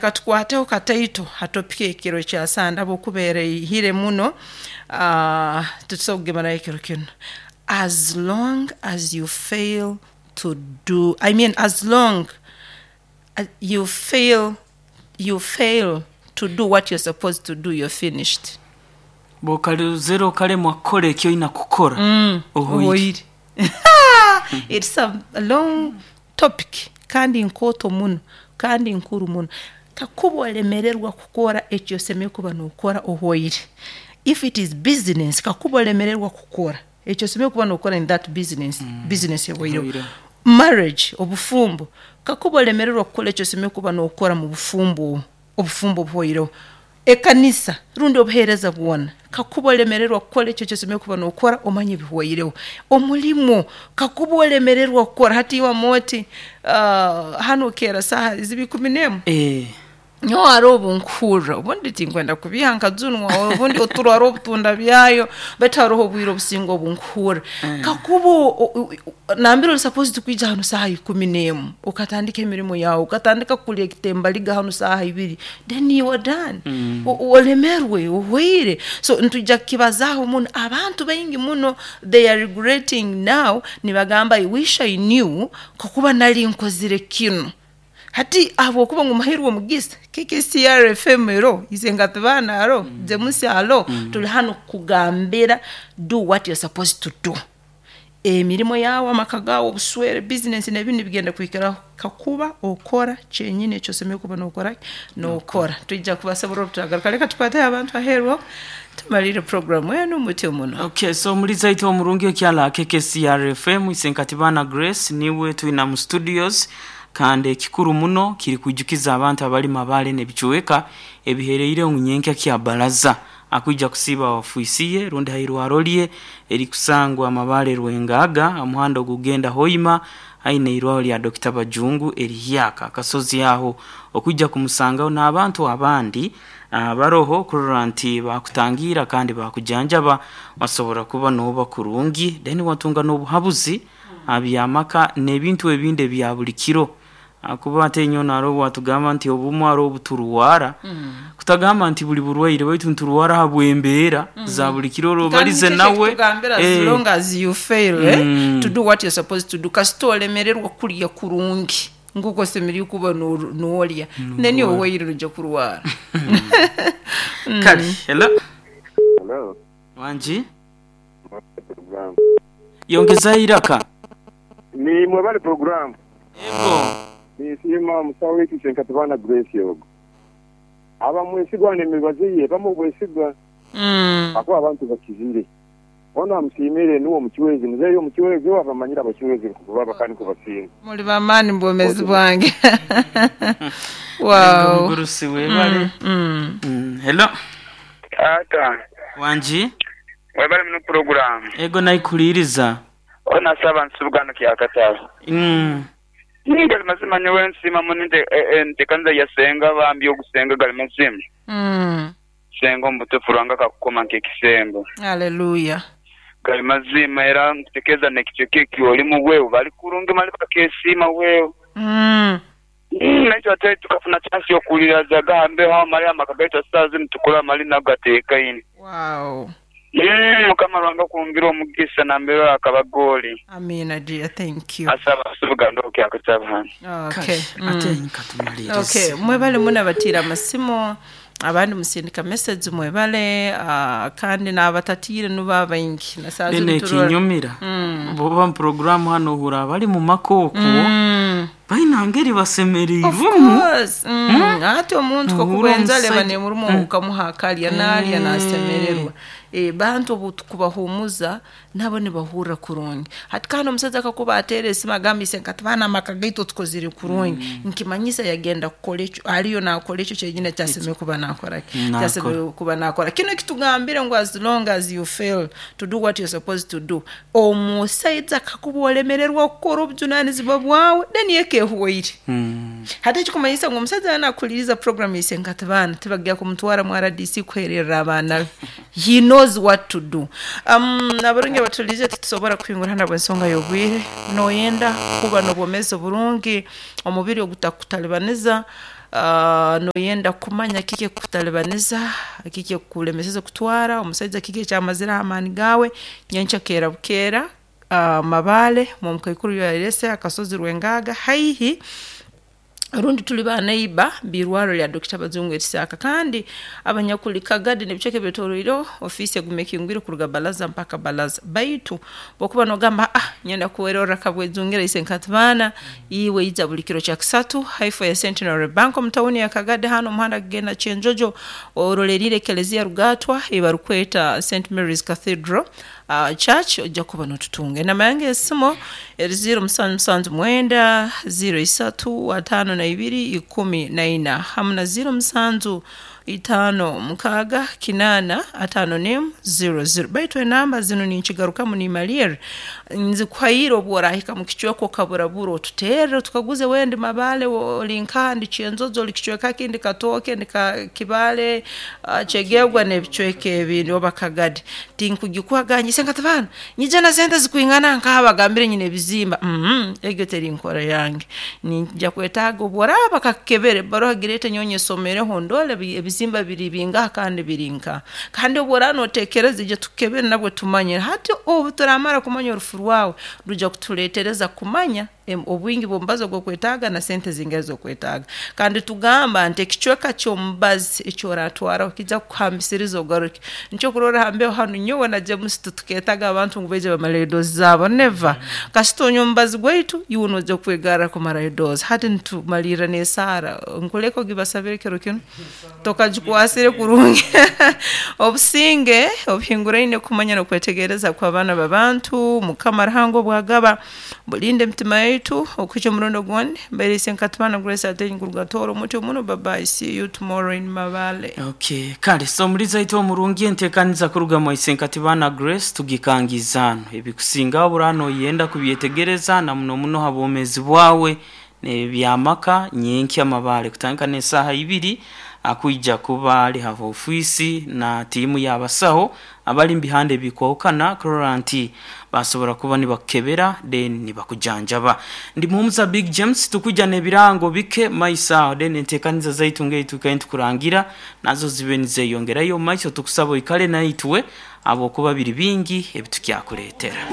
Leka tukwateho kataito ha topiki ekiro kya Sande habwokuba eraihire muno, titusobora kugimaraho ekiro kinu. As long as you fail to do, I mean as long you fail, you fail to do what you're supposed to do, you're finished. Bw'okarozere okalemwa kukora eki oina kukora, ohoire. Ohoire. It's a long topic kandi nkooto muno kandi nkuru muno. Kakuba olemererwa kukora eki osemeriire kuba nookora ohoire. If it is business, kakuba olemererwa kukora eki osemeriire kuba nookora in that business, business ehoireho. Ehoireho. Marriage, obufumbo, kakuba olemererwa kukora eki osemeriire kuba nookora mu bufumbo obu, obufumbo buhoireho. Ekanisa rundi obuheereza bwona, kakuba olemererwa kukora ekyo eki osemeriire kuba nookora, omanye bihwaireho. Omulimo, kakuba olemererwa kukora, hati iwe Amooti, hanu okeera saaha ziba ikumi n'emu? Nyowe haroho obu nkuhurra, obundi tinkwenda kubiiha nkajunwa, obundi oturo haroho obu tundabyayo, baitu haroho obwire obusinga obu nkuhurra. Kakuba nambere ori supposed kwija hanu saaha ikumi n'emu, okatandika emirimo yaawe, okatandika kulya ekitembaliga hanu saaha ibiri, then you are done. Olemerwe, ohweire. So nitwija kukibazaaho muno. Abantu baingi muno they are regretting now, nibagamba I wish I knew kakuba nali nkozire kinu. Hati ahabw'okuba ngu muhairwe omugisa, KKCR FM eroho, Isengato Baana aroho, James aroho, tuli hanu kukugambira do what you're supposed to do. Emirimo yaawe, amaka gaawe, obuswere, bizinesi n'ebindi nibigenda kuhikiraho kakuba okora kyenyini eki osemeriire kuba nookora ki? Nookora. Twija kubasoborra obu turagaruka. Leka tukwateho abantu aheeru aho tumaliire puroguraamu enu mutyo muno. Ok, so omulizi aitu omurungi okyala aha KKCR FM, Isenkatibana Grace niwe twina mu studios kandi ekikuru muno kiri kwijukiza abantu abali Mabale n'ebicweka ebihereireho ngu nyenkya kya baraza akwija kusiiba ha ofiisi ye rundi ha irwaro lye erikusangwa Mabale Rwengaaga aha muhanda ogugenda Hoima haihi n'eirwaro lya Dokita Bajungu erihyaka akasozi aho okwija kumusangaho n'abantu abandi abaroho kurora nti baakutangiira kandi baakujanjaba wasobora kuba nooba kurungi then watunga n'obuhabuzi aha by'amaka n'ebintu ebindi ebya buli kiro. Ahakuba ate nyowe haroho obu watugamba nti obumwe haroho obu turwara, kutagamba nti buli burwaire baitu niturwara ahabw'embeera za buli kiro ora Kandi obalize nikyo nawe. ekitugambira as long as you fail to do what you're supposed to do, kasita olemererwa kulya kurungi nk'oku osemeriire kuba noolya, then owaire noija kurwara. Kale, hello. Hello. Wangi? Mwebale program. Yongezayo eiraka. Ni mwebale program. Yego. Ninsiima omusawo waitu Senkatibana Grace ogu. Aba mwesigwa n'emibazi ye ebamu obwesigwa ahakuba abantu bakizire. Onu amusiimire nuwe omucwezi. Muzeeyi omucwezi obu abamanyire abacwezi nkoku baba kandi nkoku basiima. Muli b'amaani mu bwomeezi bwange. Ego Wow. mugurusi webale. Hello. Taata. Wangi. Webale muno puroguramu. Ego naikuhuliriza. Ono asaba nsubuga no kyakataru. Gali mazima nyowe nsiima muno entekaniza ya senga bambi ogusenga gali mazima. Senga omubutufu Ruhanga akakukoma nkekisembo. Hallelujah. Gali mazima era nkutekeza nekicweka ekyolimu wewe bali kurungi mali bakesiima wewe. Naitwe ate tukafuna chance yokuwuliraza aghambeho agho male amaka gaitu esaawa zinu tukura mali nago gatekaine. Wow. Mukama Ruhanga akwongere omugisa nambere ori akaba goli. Amina dear, thank you. Asaba asubuga ndoke akutaba hanu. Okay. Kale ate katumalirize. Okay, mwebale muno abatiire amasimu, abandi musindika message mwebale, kandi n'abatatiire nubo abaingi na saaha Then zinu turora. ekinyumira bwoba mu puroguramu hanu ohurra abali mu maka okwo baine ngeri Of basemereirwemu. course. Hati omuntu Nohurra kakuba enzara eba omusaija nemuruma okamuha akalya nalya nasemererwa. Bantu obu tukubahumuza nabo nibahurra kurungi. Hati kandi omusaija kakuba ateera esimu agamba ise nkati baana amaka gaitu tukozire kurungi, nkimanyisa yagenda kukora ekyo, ariyo nakora ekyo kyenyini ekyasemeriire kuba nakora ki? Nakora. Ekyasemeriire kuba nakora. Kinu ekitugambire ngu as long as you fail to do what you're supposed to do, omusaija kakuba olemererwa kukora obujunanizibwa bwawe, then eka ehwaire. Hati ekikumanyisa ngu omusaija yaaba nakuhuliriza program ise nkati baana tibagya kumutwara mu RDC kuhererra abaana be. He knows what to do. Abarungi abatuhuliriize titusobora kuhingura hanu habw'ensonga y'obwire. Noyenda kuba n'obwomeezi oburungi, omubiri ogutakutalibaniza. Noyenda kumanya kiki ekukutalibaniza, kiki ekukulemeseze kutwara, omusaija kiki ekyamazireho amaani gaawe, nyenkya keera bukeera, Mabale omukaikuru yarese akasozi Rwengaga haihi rundi tuli ba neighbor b'irwarro lya Dr. Bazungu Erisaka. Kandi abanyakuli Kagadi n'ebicweka ebyetoroireho, ofiisi eguma ekingwire kuruga balaza mpaka balaza. Baitu bw'okuba noogamba nyenda kwerorra Kabwejungira ise Nkatibaana, iwe ija buli kiro kya kisatu haifo ya Centenary Bank omu tawuni ya Kagadi hanu omuhanda gugenda Kyenjojo oroleriire Ekelezia Rugatwa ei barukweta St Mary's Cathedral Church ojja kuba notutunga. Enamba yange y'esimu eri 0779 03 52 14 hamu na 07 56 8 51 00. Baitu enamba zinu ninkigarukamu nimalirra nzikuhaire obu orahika mu kicweka okaburabura otuterre tukaguze wendi Mabale oli nkaha ndi Kyenjojo oli kicweka ki ndi Katooke ndi Kibaale, Kyegegwa n'ebicweka ebindi oba Kagadi. Tinkugikuha gamba ise Nkatibaana nyija na sente zikwingana nkaha bagambire nyine ebizimba, egyo teri nkora yange. Ninjya kwetaaga obu oraaba bakakukebera ebbaruha gireete nyowe nyesomereho ndole ebizimba biri bingaha kandi biri nkaha. Kandi obu oraaba nooteekereza ija tukukebere nabwo tumanye. Hati obu turaamara kumanya orufu rwawe, rwija kutuleetereza kumanya obwingi bw'omubazi ogu okwetaaga na sente zingaha ezi okwetaaga. Kandi tugamba nti ekicweka ky'omubazi eki oraatwaraho kiija kukuhambisiriza ogaruke. Nikyo okurorra ha mbeho hanu nyowe na James titukeetaga abantu ngu baije bamaleyo edozi zaabo, never. Kasita onywa omubazi gwaitu, iwe noija kwegarra kumarayo dozi. Hati nitumalirra n'esaara, nkuleke ogibasabire kiro kinu, tokagikwasire kurungi. Obusinge obuhinguraine kumanya n'okwetegereza kw'abaana b'abantu, Mukama Ruhanga obu agaba, bulinde emitima yaitu okuhikya omurundi ogundi. Mbaire ise Nkatibana Grace Atenyi kuruga Tooro Muti Omuno. Bye bye, see you tomorrow in Mabale. Okay, kale so omulizi aitu omurungi entekaniza kuruga mwa Isenkatibana Grace tugikangiize hanu. Ebikusingaho buraha noyenda kubyetegereza na muno muno ha bwomezi bwawe n'ebyamaka nyenkya Mabale kutandika n'esaaha ibiri akwija kuba ali ha ofiisi na tiimu y'abasaho abali mubihanda ebikwahukana kurora nti basobora kuba nibakukebera then nibakujanjaba. Ndi Muhumuza Big James tukwija n'ebirango bike maiso aho then entekaniza zaitu ng'eitwikaire nitukurangira nazo zibe nizeyongerayo mumaiso tukusaba oikale naitwe habwokuba biri bingi ebitukyakuletera.